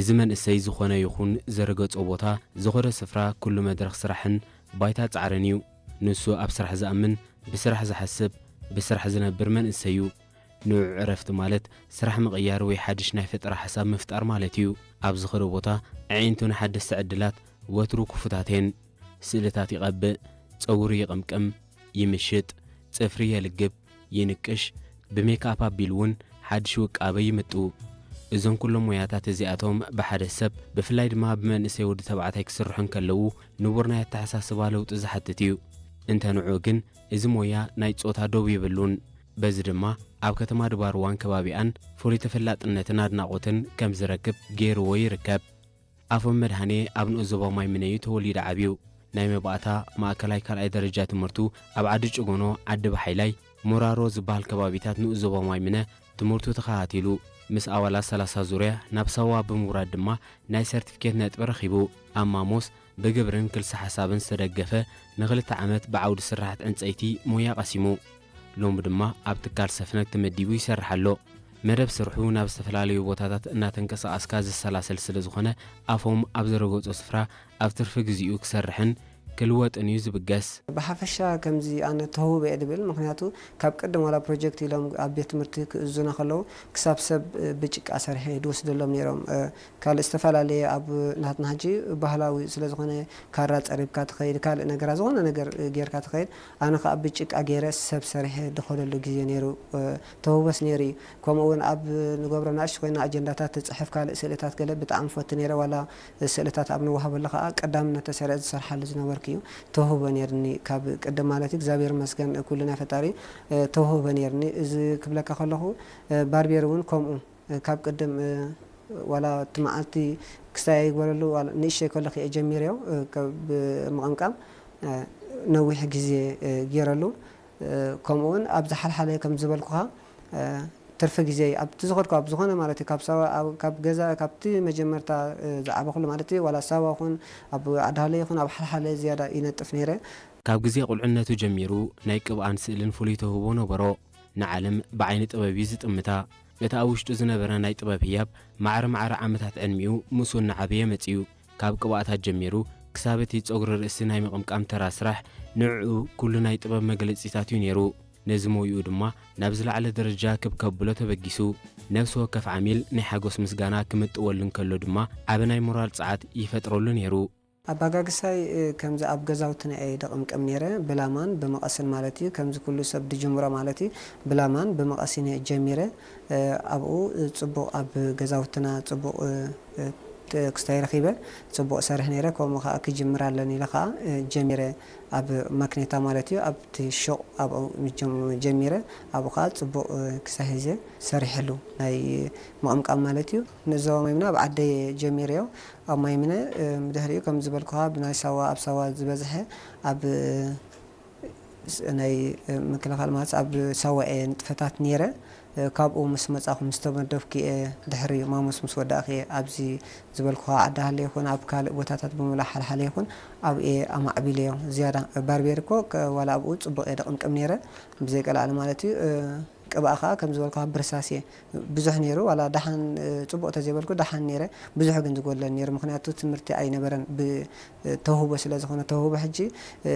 እዚ መንእሰይ ዝኾነ ይኹን ዝረገጾ ቦታ፣ ዝኾነ ስፍራ፣ ኩሉ መድረኽ ስራሕን ባይታ ጻዕርን እዩ። ንሱ ኣብ ስራሕ ዝኣምን፣ ብስራሕ ዝሓስብ፣ ብስራሕ ዝነብር መንእሰይ እዩ። ንዑ ዕረፍቲ ማለት ስራሕ ምቕያር ወይ ሓድሽ ናይ ፈጠራ ሓሳብ ምፍጣር ማለት እዩ። ኣብ ዝኸዶ ቦታ ኣዒንቱ ንሓደስቲ ዕድላት ወትሩ ክፉታት እየን። ስእልታት ይቐብእ፣ ጸጉሩ ይቕምቅም፣ ይምሽጥ፣ ጽፍሪ የልግብ፣ ይንቅሽ፣ ብሜክኣፕ ኣቢሉ እውን ሓድሽ ውቃበ ይምጥው። እዞም ኩሎም ሞያታት እዚኣቶም ብሓደ ሰብ፣ ብፍላይ ድማ ብመንእሰይ ወዲ ተባዕታይ ክስርሑ እንከለዉ ንቡር ናይ ኣተሓሳስባ ለውጢ ዝሓትት እዩ። እንተ ንዑ ግን እዚ ሞያ ናይ ጾታ ዶብ የብሉን። በዚ ድማ ኣብ ከተማ ድባርዋን ከባቢኣን ፍሉይ ተፈላጥነትን ኣድናቖትን ከም ዝረክብ ገይርዎ ይርከብ። ኣፎም መድሃኔ ኣብ ንኡስ ዞባ ማይ ምነ እዩ ተወሊዱ ዓብዩ። ናይ መባእታ ማእከላይ ካልኣይ ደረጃ ትምህርቱ ኣብ ዓዲ ጭጎኖ፣ ዓዲ ባሓይላይ፣ ሞራሮ ዝበሃል ከባቢታት ንኡስ ዞባ ማይ ምነ ትምህርቱ ተኸታቲሉ። ምስ ኣባላት ሰላሳ ዙርያ ናብ ሳዋ ብምውራድ ድማ ናይ ሰርቲፊኬት ነጥቢ ረኺቡ። ኣብ ማሞስ ብግብርን ክልሰ ሓሳብን ዝተደገፈ ንኽልተ ዓመት ብዓውዲ ስራሓት ዕንጸይቲ ሞያ ቀሲሙ። ሎሚ ድማ ኣብ ትካል ሰፍነግ ተመዲቡ ይሰርሕ ኣሎ። መደብ ስርሑ ናብ ዝተፈላለዩ ቦታታት እናተንቀሳቐስካ ዝሰላሰል ስለ ዝኾነ ኣፎም ኣብ ዝረገጾ ስፍራ ኣብ ትርፊ ግዜኡ ክሰርሕን ክልወጥን እዩ ዝብገስ። ብሓፈሻ ከምዚ ኣነ ተውህቦ እየ ድብል፣ ምኽንያቱ ካብ ቅድም ዋላ ፕሮጀክት ኢሎም ኣብ ቤት ትምህርቲ ክእዙና ከለዉ ክሳብ ሰብ ብጭቃ ሰሪሐ ድወስደሎም ነይሮም። ካልእ ዝተፈላለየ ኣብ ናትና ሕጂ ባህላዊ ስለ ዝኾነ ካራ ጸሪብካ ትኸይድ፣ ካልእ ነገራት ዝኾነ ነገር ጌርካ ትኸይድ። ኣነ ከኣ ብጭቃ ገይረ ሰብ ሰሪሐ ድኸደሉ ግዜ ነይሩ፣ ተውህቦስ ነይሩ እዩ። ከምኡ እውን ኣብ ንገብሮ ናእሽቱ ኮይና ኣጀንዳታት ትጽሕፍ፣ ካልእ ስእልታት ገለ ብጣዕሚ ፈቱ ነይረ። ዋላ ስእልታት ኣብ ንወሃበሉ ከኣ ቀዳምነት ተሰሪዐ ዝሰርሓሉ ዝነበርኩ እዩ። ተውህቦ ነይርኒ ካብ ቅድም ማለት እዩ። እግዚኣብሔር ይመስገን ኩሉ ናይ ፈጣሪ ተውህቦ ነይርኒ። እዚ ክብለካ ከለኹ ባርቤር እውን ከምኡ ካብ ቅድም ዋላ እቲ መዓልቲ ክስታይ ኣይግበረሉ፣ ዋላ ንእሽተይ ከለኹ እየ ጀሚረዮ፣ እ፣ ከ-፣ ብምቕምቃም፣ እ፣ ነዊሕ ግዜ፣ እ፣ ገይረሉ። እ፣ ከምኡ እውን ኣብ ዝሓልሓለ ከም ዝበልኩኻ፣ እ፣ ትርፊ ግዜ ኣብቲ ዝኸድኩ ኣብ ዝኾነ ማለት እዩ፣ ካብ ሳዋ፣ ኣብ፣ ካብ ገዛ፣ ካብቲ መጀመርታ፣ እ፣ ዝዓበኹሉ ማለት እዩ፣ ዋላ ሳዋ ይኹን ኣብ ዓዲ ሃሎ ይኹን ኣብ ሓልሓለ ዝያዳ ይነጥፍ ነይረ። ካብ ግዜ ቁልዕነቱ ጀሚሩ ናይ ቅብኣን ስእልን ፍሉይ ተውህቦ ነበሮ። ንዓለም ብዓይኒ ጥበብ እዩ ዝጥምታ። እቲ ኣብ ውሽጡ ዝነበረ ናይ ጥበብ ህያብ ማዕረ ማዕረ ዓመታት ዕድሚኡ ምስኡ እናዓበየ መጺኡ። ካብ ቅብኣታት ጀሚሩ ክሳብ እቲ ጸጉሪ ርእሲ ናይ ምቕምቃም ተራ ስራሕ ንዕኡ ኩሉ ናይ ጥበብ መግለጺታት እዩ ነይሩ። ነዚ ሞይኡ ድማ ናብ ዝለዓለ ደረጃ ክብ ከብሎ ተበጊሱ። ነፍሲ ወከፍ ዓሚል ናይ ሓጎስ ምስጋና ክምጥወሉ እንከሎ ድማ ዓቢ ናይ ሞራል ጸዓት ይፈጥረሉ ነይሩ። ኣባጋግሳይ፣ እ፣ ከምዚ ኣብ ገዛውትና እየ ደቕምቅም ነይረ፣ ብላማን ብመቐስን ማለት እዩ። ከምዚ ኩሉ ሰብ ድጅምሮ ማለት እዩ፣ ብላማን ብመቐስን እየ ጀሚረ። እ፣ ኣብኡ፣ እ፣ ጽቡቕ ኣብ ገዛውትና ጽቡቕ፣ እ፣ እ፣ ት-፣ ክስታይ ረኺበ፣ ጽቡቕ እሰርሕ ነይረ። ከምኡ ከኣ ክጅምር ኣለኒ ኢለ ከኣ፣ እ፣ ጀሚረ። ኣብ ማክኔታ ማለት እዩ፣ ኣብቲ ሹቕ ኣብኡ ጀም-፣ ጀሚረ። ኣብኡ ከኣ ጽቡቕ፣ እ፣ ክሳይ ሒዘ ሰሪሐሉ። ናይ ምቕምቃም ማለት እዩ። ንዞባ ማይምነ ኣብ ዓደይ ጀሚረዮ። ኣብ ማይምነ፣ እ፣ ብድሕሪኡ ከም ዝበልኩኻ ብናይ ሳዋ፣ ኣብ ሳዋ ዝበዝሐ ኣብ፣ እ፣ ስ-፣ ናይ፣ እ፣ ምክልኻል ማለት ኣብ ሳዋ እየ ንጥፈታት ነይረ። እ፣ ካብኡ ምስ መጻኹ ምስ ተመደብኩ እየ ድሕሪ ማሙስ ምስ ወዳእኩ እየ ኣብዚ ዝበልኩኻ ዓዲ ሃለ ይኹን ኣብ ካልእ ቦታታት ብምሉእ ሓልሓለ ይኹን ኣብ እየ ኣማዕቢለዮ። ዝያዳ ባርቤር እኮ ከ-፣ ዋላ ኣብኡ ጽቡቕ እየ ደቕምቅም ነይረ ብዘይቀላዕሊ ማለት እዩ። እ፣ ቅብኣ ከኣ ከም ዝበልኩኻ ብርሳስ እየ። ብዙሕ ነይሩ፣ ዋላ ደሓን፣ እ፣ ጽቡቕ ተዘይበልኩ ደሓን ነይረ። ብዙሕ ግን ዝጎድለኒ ነይሩ፣ ምኽንያቱ ትምህርቲ ኣይነበረን። ብ-፣ እ፣ ተውህቦ ስለ ዝኾነ፣ ተውህቦ ሕጂ፣ እ፣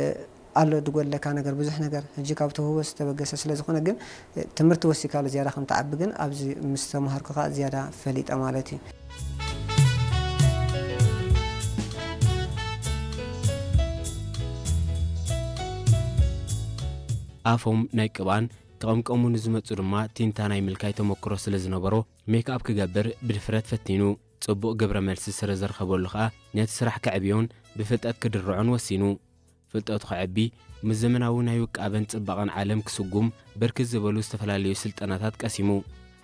ኣሎ ድጎድለካ ነገር፣ ብዙሕ ነገር። ሕጂ ካብ ተውህቦ ዝተበገሰ ስለ ዝኾነ ግን፣ እ፣ ትምህርቲ ወሲካሉ ዝያዳ ከም ትዓቢ ግን ኣብዚ ምስ ተማሃርኩ ከኣ ዝያዳ ፈሊጠ ማለት እዩ። ኣፎም ናይ ቅብኣን ክቕምቀሙ ንዝመጹ ድማ ቲንታ ናይ ምልካይ ተመክሮ ስለ ዝነበሮ፣ ሜክኣፕ ክገብር ብድፍረት ፈቲኑ። ጽቡቕ ግብረ መልሲ ስለ ዘርኸበሉ ከኣ ነቲ ስራሕ ከዕብዮን ብፍልጠት ክድርዖን ወሲኑ። ፍልጠቱ ከዕቢ፣ ምስ ዘመናዊ ናይ ውቃበን ጽባቐን ዓለም ክስጉም ብርክት ዝበሉ ዝተፈላለዩ ስልጠናታት ቀሲሙ።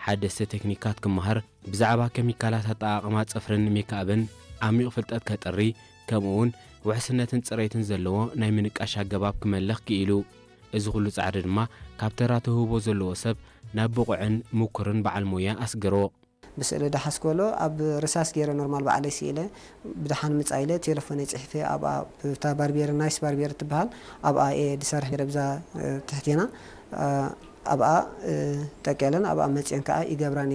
ሓደስቲ ቴክኒካት ክመሃር፣ ብዛዕባ ኬሚካላት ኣጠቓቕማ ጽፍርን ሜክኣፕን ዓሚቕ ፍልጠት ከጥሪ፣ ከምኡ'ውን ውሕስነትን ጽሬትን ዘለዎ ናይ ምንቃሽ ኣገባብ ክመልኽ ክኢሉ። እዚ ኩሉ ጻዕሪ ድማ ካብ ተራ ተውህቦ ዘለዎ ሰብ ናብ ብቑዕን ምኩርን በዓል ሞያ ኣስገሮ። ብስእሊ ደሓስ ክበሎ ኣብ ርሳስ ገይረ ኖርማል ባዕለይ ስኢለ ብደሓን ምጻ ኢለ ቴሌፎነይ ጽሒፈ ኣብኣ ብታ ባርቤር ናይስ ባርቤር ትበሃል ኣብኣ እየ ድሰርሕ ነይረ ብዛ፣ እ፣ ትሕቴና፣ እ፣ ኣብኣ፣ እ፣ ጠቅለን ኣብኣ መጽየን ከኣ ይገብራ ነይረ።